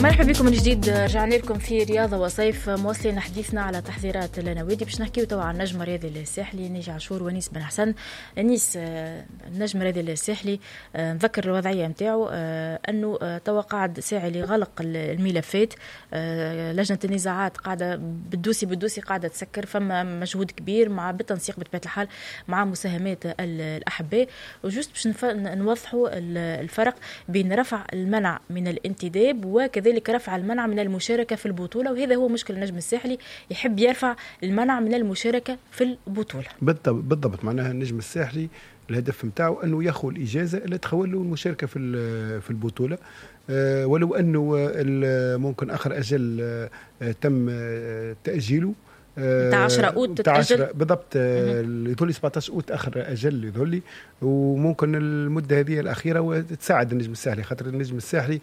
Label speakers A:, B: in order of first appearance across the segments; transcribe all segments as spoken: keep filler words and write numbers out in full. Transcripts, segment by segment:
A: مرحبا بكم من جديد، رجعنا لكم في رياضة وصيف، مواصلين حديثنا على تحضيرات النوادي. باش نحكيو توا على النجم الرياضي الساحلي، ناجي عاشور ونيس بن حسن. نيس، آه، النجم الرياضي الساحلي، آه، نذكر الوضعية نتاعو، آه، انه توا قاعد ساعي لغلق الملفات، لجنة النزاعات قاعدة بال dossier بال dossier قاعدة تسكر، فما مجهود كبير مع بالتنسيق بطبيعة الحال مع مساهمات الاحباء. و juste باش نوضحوا الفرق بين رفع المنع من الانتداب وكذلك كذلك رفع المنع من المشاركة في البطولة، وهذا هو مشكل النجم الساحلي، يحب يرفع المنع من المشاركة في البطولة.
B: بالضبط بالضبط، معناها النجم الساحلي الهدف نتاعو انه ياخذ الاجازة اللي تخول له المشاركة في في البطوله، أه ولو انه ممكن اخر اجل أه تم آه، تاجيله.
A: نتاع عشرة اوت تتاجل.
B: بالضبط، يظهر لي سبعطاش اوت اخر اجل يظهر لي، وممكن المدة هذه الاخيرة تساعد النجم الساحلي، خاطر النجم الساحلي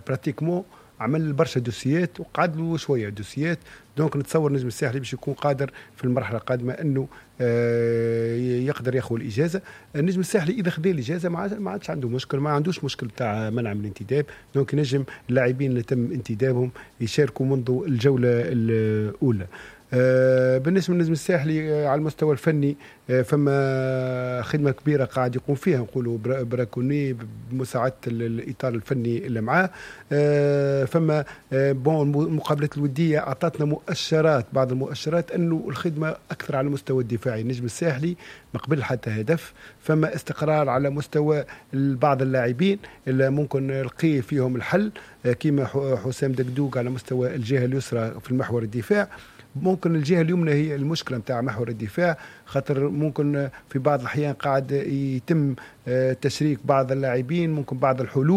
B: pratiquement عمل برشا دوسيات وقعد له شوية دوسيات، donc نتصور النجم الساحلي باش يكون قادر في المرحلة القادمة انه آه، يقدر ياخذ الاجازه. النجم الساحلي اذا خذ الاجازة ما عادش عنده مشكل، ما عندوش مشكل تاع منع من الانتداب، donc ينجم اللاعبين اللي تم انتدابهم يشاركوا منذ الجولة الاولى. آه، بالنسبة للنجم الساحلي، آه، على المستوى الفني آه، فما خدمة كبيرة قاعد يقوم فيها، نقولوا براكوني بمساعدة الاطار الفني اللي معاه. فما bon المقابلات الودية اعطتنا مؤشرات، بعض المؤشرات انه الخدمة اكثر على المستوى الدفاعي. النجم الساحلي ما قبل حتى هدف، فما استقرار على مستوى بعض اللاعبين اللي ممكن لقي فيهم الحل، كيما حسام دقدوق على مستوى الجهة اليسرى في المحور الدفاع. ممكن الجهة اليمنى هي المشكلة نتاع محور الدفاع، خاطر ممكن في بعض الاحيان قاعد يتم آه، تشريك بعض اللاعبين، ممكن بعض الحلول.